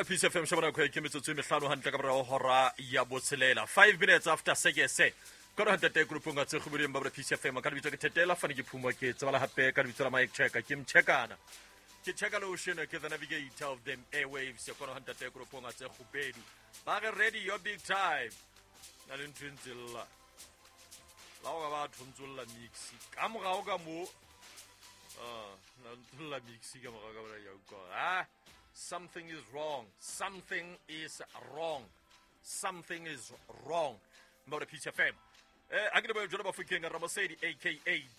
Mabra Peace FM shebana nako ke metsotso e mehlano hantle ka morao hora ya botshelela 5 minutes after sekese ka re hantate grupong a tse kgobeleng Mabra Peace FM ka lebitso ke Thetela fane ke phuma ke tsebala hape ka lebitso la Mike Checker ke mchekana ke checka lotion ke the navigator of them airwaves ka re hantate grupong a tse kgobedu ba re ready your big time na le ntho e ntse lla la go ka ba thontsolla mix ka morao ka mo ah na ntsolla mix ka morao ka ya utlwa ah something is wrong something is wrong something is wrong Mabra Peace FM a ke lebohe jalo bafokeng Ramosedi aka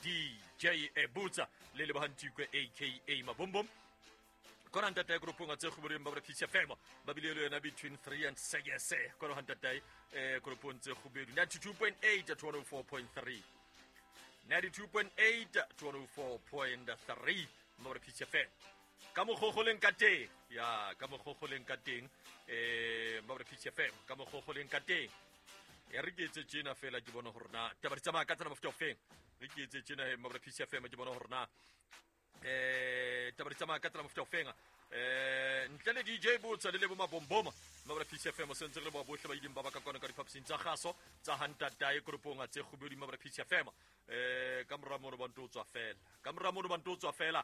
DJ Butsa le Lebohantikwe aka Mabombom kona ntatae koropong a tse kgoboreng ba Peace FM ba bile le yona between 3 and 6 kona ntatae koropong tse kgobedu 92.8 to 104.3 92.8 to 104.3 Mabra Peace FM ka mokgokgoleng ka teng ya ka mokgokgoleng ka teng Mabra Peace FM ka mokgokgoleng ka teng ya re ke etse tjena fela ke bona hore na taba di tsamaya ka tsela mofuta ofeng re ke etse tjena he Mabra Peace FM ke bona hore na taba di tsamaya ka tsela mofuta ofeng ntle le DJ Botsa le Lebo Mabomboma Mabra Peace FM sentse re leboha bohle ba ileng ba ba ka kwana ka diphaposing tsa kgaso tsa hantatae koropong tse kgobedi Mabra Peace FM ka mora mono ba nto tswa fela ka mora mono ba nto tswa fela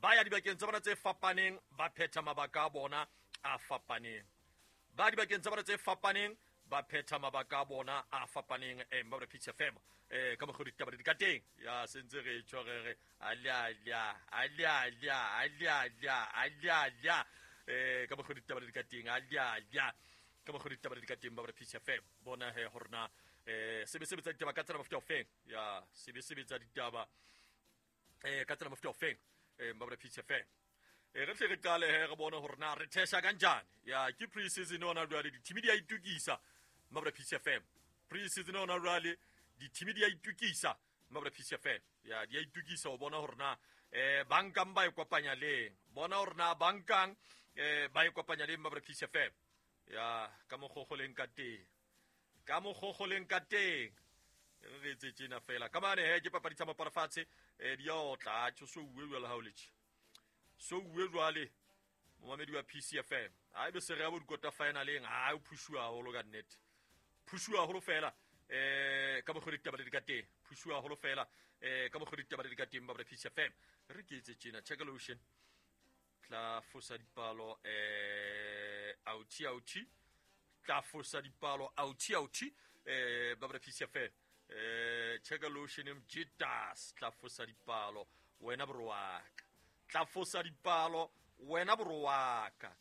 ba ya dibakeng tsa bona tse fapaneng ba phetha mabaka a bona a fapaneng ba dibakeng tsa bona tse fapaneng ba phetha mabaka a bona a fapaneng Mabra Peace FM ka mokgwa ditaba di ka teng ya sentse re tjho re re alia alia alia alia alia alia alia ka mokgwa ditaba di ka teng alia alia ka mokgwa ditaba di ka teng Mabra Peace FM bona he hore na sebe sebetsa ditaba ka tsela mofuta ofeng ya sebe sebetsa ditaba ka tsela mofuta ofeng Mabra Peace FM re tle re qale he re bone hore na re thesha kanjani ya ke pre-season ona jwale dithimi di a itukisa Mabra Peace FM pre-season ona jwale dithimi di a itukisa Mabra Peace FM ya di a itukisa ho bona hore na bankang ba e kopanya leng bona hore na bankang ba e kopanya leng Mabra Peace FM ya ka mokgokgoleng ka teng ka mokgokgoleng ka teng re etse tjena fela ka mane he ke papadi tsa maparafatshe di a otla tjho so uwe jwale ha o letjhe so uwe jwale momamedi wa PCFM ha ebe se re ya bo dikota finaleng ha o phushuwa haholo ka nnete phushuwa haholo fela ka mokgwa ditaba di ka teng phushuwa haholo fela ka mokgwa ditaba di ka teng ba PCFM re ke etse tjena check lotion tla fosa dipalo authi authi tla fosa dipalo authi authi ba PCFM check lotion mjitas tla fosa dipalo wena borwaka tla fosa dipalo wena borwaka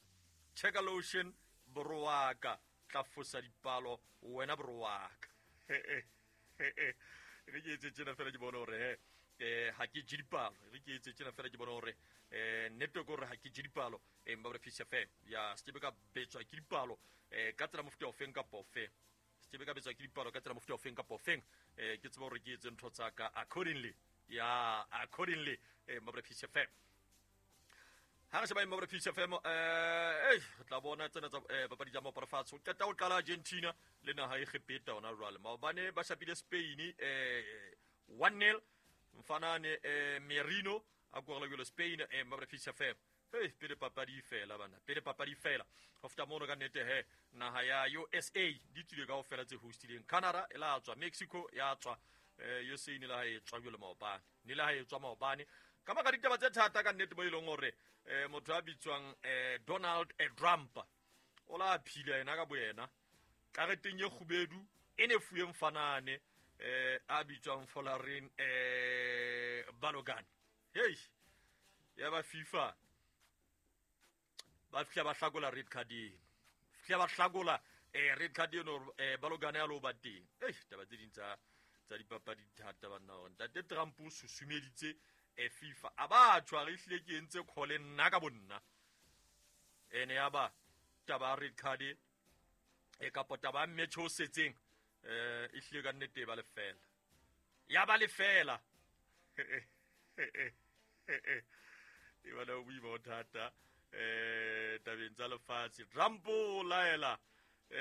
check lotion borwaka tla fosa dipalo wena borwaka re ke etse tjena fela ke bona hore he ha ke je dipalo re ke etse tjena fela ke bona hore network hore ha ke je dipalo Mabra Peace FM ya se ka betswa ke dipalo ka tsela mofuta ofeng kapa ofeng se ka betswa ke dipalo ka tsela mofuta ofeng kapa ofeng ke tseba hore ke etse ntho tsa ka accordingly ya accordingly Mabra Peace FM ha re sheba Mabra Peace FM re tla bona tsena tsa papadi tsa maparafatshe o qeta ho qala Argentina le naha e Egepeta hona jwale maobane ba shapile Spain 1-0 mfanane Merino a korela jwale Spain Mabra Peace FM hey pele papadi fela bana pele papadi fela ho feta mono ka nnete he naha ya USA di tswile kaofela tse hostileng Canada e la tswa Mexico ya tswa USA ne la e tswa jwale maobane ne la e tswa maobane ka maka ditaba tse thata ka nnete mo e leng hore motho a bitswang Donald Trump o la phila yena ka boyena kareteng e kgubedu e ne fuweng fanane a bitswang Folarin Balogun hey ya ba FIFA ba fihla ba hlakola red card eno fihla ba hlakola red card eno Balogun ya lo ba teng ei taba tse ding tsa dipapadi di thata banna hore ntate Trump o susumeditse FIFA a ba tshware ehlile ke entse call nna ka bonna ene ya ba taba red card e kapo taba match o setseng ehlile ka nnete ba lefela ya ba lefela e bana o boima o thata tabeng tsa lefatshe Trump o laela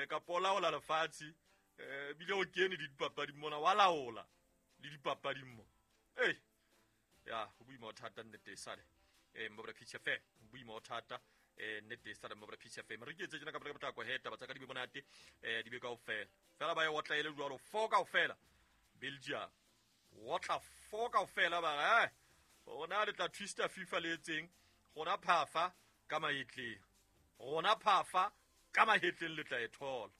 kapo o laola lefatshe bile o kene le dipapading mona wa laola le dipapading mo ei ya ho boima o thata nnete sale Mabra Peace FM boima o thata Nnete sa mo Peace FM re ke etse tjena ka potlako he taba tsa ka di be monate, di be kaofela fela ba e otla ele jwalo 4 kaofela. Belgium otla 4 kaofela ba re rona le tla twista FIFA le etseng rona phafa ka mahetleng, rona phafa ka mahetleng le tla e thola.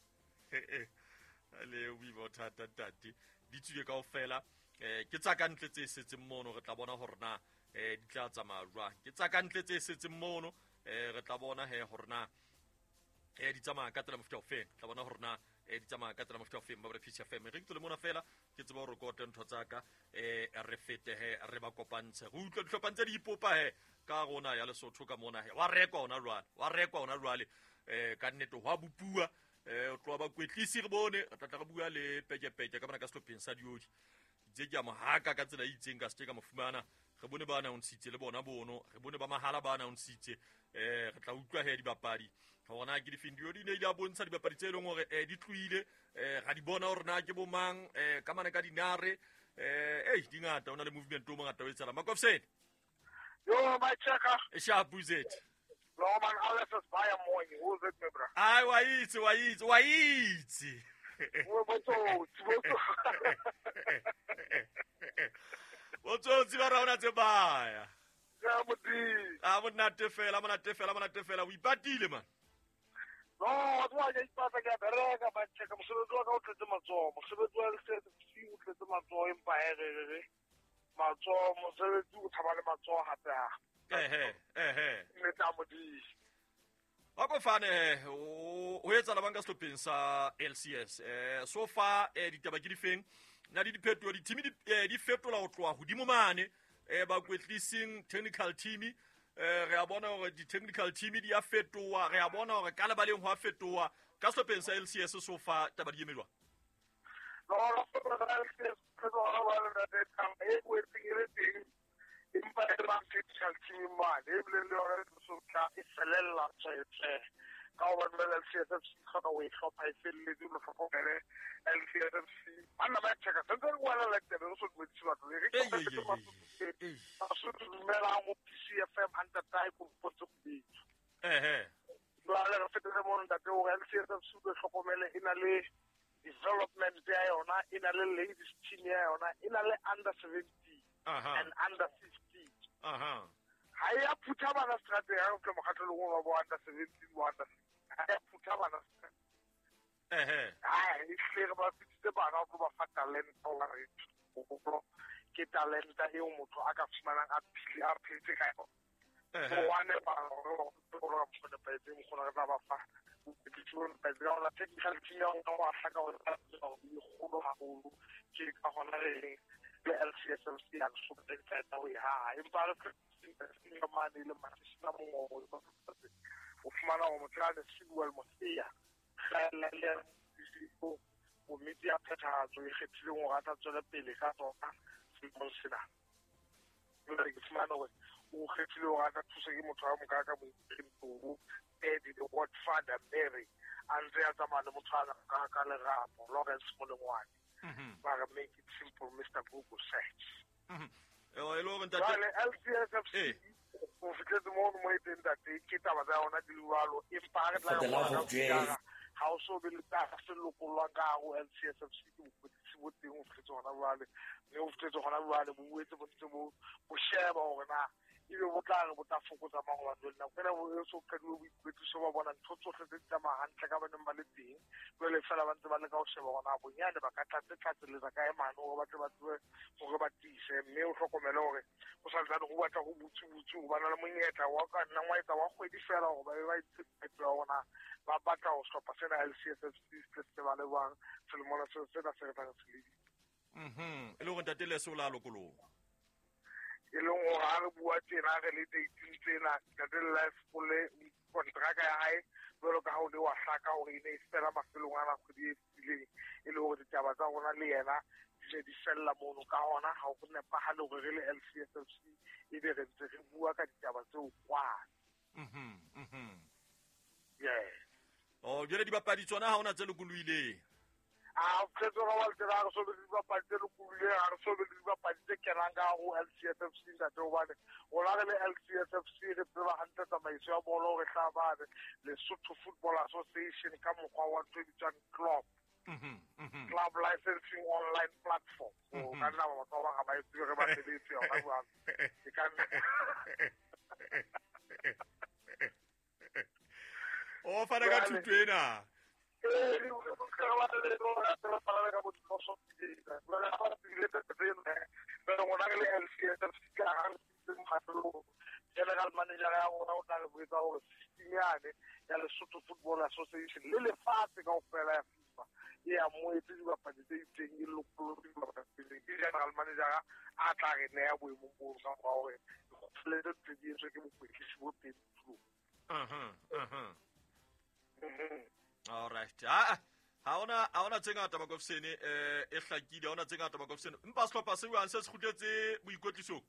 Le o boima thata ntate, di tswile kaofela. Ke tsa ka ntle tse setseng mono, re tla bona hore na di tla tsamaya jwang. Ke tsa ka ntle tse setseng mono, re tla bona he hore na di tsamaya ka tsela mofuta ofeng. Tla bona hore na di tsamaya ka tsela mofuta ofeng. Ba re Peace FM re ntse le mona fela, ke tseba hore kote ntho tsa ka, re fete he re ba kopantshe, re utlwe dihlopha tse di ipopa he ka rona ya Lesotho ka mona he. Wa rekwa hona jwale, wa rekwa hona jwale, ka nnete hwa bopuwa. O tloha bakwetlisi re bone, re tla re bua le pekepeke ka mona ka sehlopheng sa Diodi. Itse ke a mo haka ka tsela e itseng, ka se ke ka mo fumana. Re bone ba announcitse le bona bono, re bone ba mahala ba announcitse. Re tla utlwa he dibapadi hore na ke difeng. Diodi ne ile a bontsha dibapadi tse leng hore di tlohile, ra di bona hore na ke bo mang, ka mane ka dinare. Di ngata, o na le movement o mongata o etsahala. Makofsene. Yo, my checker. Sharp it. No man, Alex is by a morning. Who's it, my bro? Ai, wa itse, wa itse, wa itse. Botsotsi ba rona tse baya. Ya modimo. A monate fela, monate fela, monate fela. O ipatile man. No, wa ke ipata ke bereka ba checka mosebetsi wa ka o tletse matsoho. Mosebetsi wa LCSFC o tletse matsoho, empa re matsoho mosebetsi o tshaba le matsoho hape ha. Ehe. Mme tsa modimo. Wa ko fane o etsa la banka sehlopheng sa LCS. So far ditaba ke difeng? Na di diphetoho, di-team di fetola ho tloha hodimo mane, bakwetlising technical team, re a bona hore di-technical team di a fetoha, re a bona hore ka lebaleng ho a fetoha. Ka sehlopheng sa LCS so far taba di eme jwang? No, LCS e boetseng e le teng, empa e ba technical team mane, ebile le yona e so tla e felella tswetswe. Ka hobane jwale LCS FC hloka ho e hlopha e felletse, o hlokomele LCS FC. Banna ba checka, sentse re bua le tebe, re so dumedise batho. Re ke Basotho dumelang ho PCFM Antatai ko potso kubetso. Jwale re fetele mono ntate hore LCS FC o hlokomele e na le development ya yona, e na le ladies team ya yona, e na le under 17 and under 15. Ha ya phutha bana strateng ha o tla mokgatlong wa bo under 17 bo under 15. Ha ya phutha bana strateng. Ha e hle re ba fitse bana go ba fa talent wa re. Ke talenta eo motho a ka fumanang a phile a phetse ka yona. One ba gore go nepahetse mokgona re tla ba fa technical team ya rona wa hlaka hore e kgolo haholo. Ke ka hona re reng le LCS FC ya Lesotho re qeta ho e haha. Empa re mane le Masisina Mongobo o fumana hore motho a le Sidwell Mosia le komiti ya phethahatso e kgethileng hore a tla tswela pele ka tsona selemong sena. Jwale ke fumana hore o kgethile hore a tla thuswa ke motho a mokaka Moipeng Eddie the Godfather Mary a ntse a tsamaya le motho a ka Lerapo Lawrence Molengwane. Ba re make it simple Mr. Google search. Jwale LCS FC o fihletse mono mo e teng ntate, ke taba tsa yona di jwalo, empa ha re tla ha o so be le taba se lokollwang ka hare ho LCS FC ke bokwetlisi bo teng o fihletse hona jwale, mme o fihletse hona jwale bo boetse bo ntse bo sheba hore na ebe bo tla re bo tla fokotsa mang hobane jwale nako ena bo so qadile boikwetliso ba bona ntho tsohle tse di tsamaya hantle ka ba neng ba le teng. Jwale fela ba ntse ba leka ho sheba hore na bonyane ba ka tlatseletsa kae mane hore ba tle ba tsebe hore ba tiise, mme o hlokomele hore ho sa ntsane ho batla ho butse-butse ho bana le monyetla wa ka nnang wa etsa wa kgwedi fela hore ba be ba itse qeto ya hore na ba batla ho hlopha sena LCS FC se se ba le jwang selemong sena se re tlang se lebile. E le hore ntate Leso o la lokoloha. E leng hore ha re bua tjena re le dating tsena ntate Life o le kontraka ya hae jwalo ka ha o le wa hlaka hore e ne e fela mafelong ana kgwedi e fetileng, e le hore ditaba tsa rona le yena di ne di fella mono. Ka hona ha ho nepahale hore re le LCS FC ebe re ntse re bua ka ditaba tseo kwana. Yes. Oh, jwale dibapadi tsona ha hona tse lokolohileng. A tsetso ga wa tsela re so be le dibapadi tse lokolohileng, ha re so be le dibapadi tse kenang ka ho LCSFC ntate, hobane rona re le LCSFC re tseba hantle tsamaiso ya bolo re hlabane Lesotho Football Association ka mokgwa wa ntho e bitswang club club licensing online platform. O ka nna batho ba bang ga ba e tsebe, re ba sebetse yona jwalo. E ka nna O fana ka thuto ena. General manager ya rona o tla re botsa hore system yane ya Lesotho Football Association le lefatshe kaofela ya FIFA e amohetse dibapadi tse itseng, e lokollotse dibapadi tse itseng. Ke general manager a tla re neha boemong boo ka mora hore dikgothaletso tse di etswe ke bokwetlisi bo teng tulong. All right. Ha ha ona tse ngata Makofsene, e hlakile, ha ona tse ngata Makofsene. Empa sehlopha se buang se se kgutletse boikwetlisong.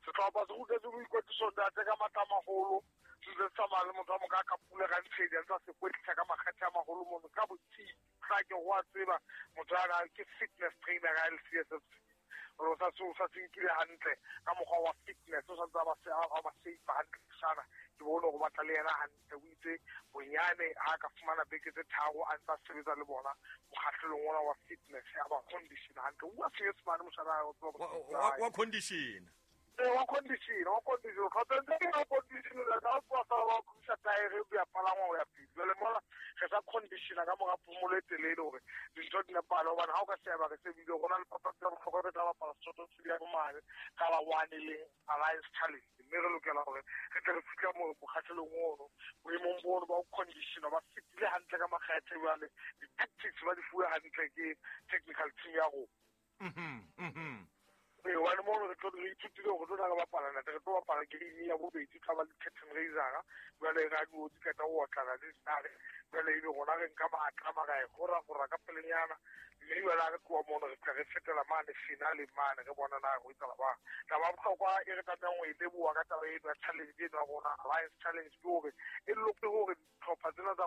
Sehlopha se kgutletse boikwetlisong ntate ka matla a maholo. Se ntse se tsamaya le motho a moka ka pula ka ntshedi a ntse a se kwetlisa ka makgethe a maholo mono ka botsibi. Tla ke go a tseba motho ana ke fitness trainer ya LCSFC. O sa se o sa se nkile hantle ka mokgwa wa fitness, o santse a ba a ba shape hantle sana. Ke bone hore batla le yena hantle, o itse bonyane ha ka fumana beke tse 3 a ntse a sebetsa le bona mokgahlelong ona wa fitness, a ba condition hantle. O bua Senyesemane moshana o tseba wa condition. Wa condition, wa condition. Kgotsa ntse ke wa condition la ka tsoa fela wa thusa taere o ya palangwa ho ya pele. Jwale mola re sa conditiona ka mora phomolo e telele hore dintho di nepahale, hobane ha o ka sheba re shebile rona le papadi ya bohlokwa re tla bapala Sesotho se ya bomane ka la 1 e leng Alliance Challenge, mme re lokela hore re tle re fihle mo mokgahlelong ono boemong bono ba ho conditiona ba fetile hantle ka makgethe. Jwale di-tactics ba di fuwe hantle ke technical team ya rona. Ee, hobane mono re tlo re ithutile hore re tlo tla re bapala ntate, re tlo bapala game ya bobedi, tla ba le curtain raiser. Jwale radio di qeta ho otlana le dinare, jwale ebe rona re nka matla ra e gora ka pelenyana, mme jwale ha re tloha mono re tla re fetela mane finale mane re bona na ho etsahala jwang. Taba ya bohlokwa e re tlamehang ho e leboha ka taba eno ya challenge eno ya rona Alliance Challenge ke hore e loke hore dihlopha tsena tsa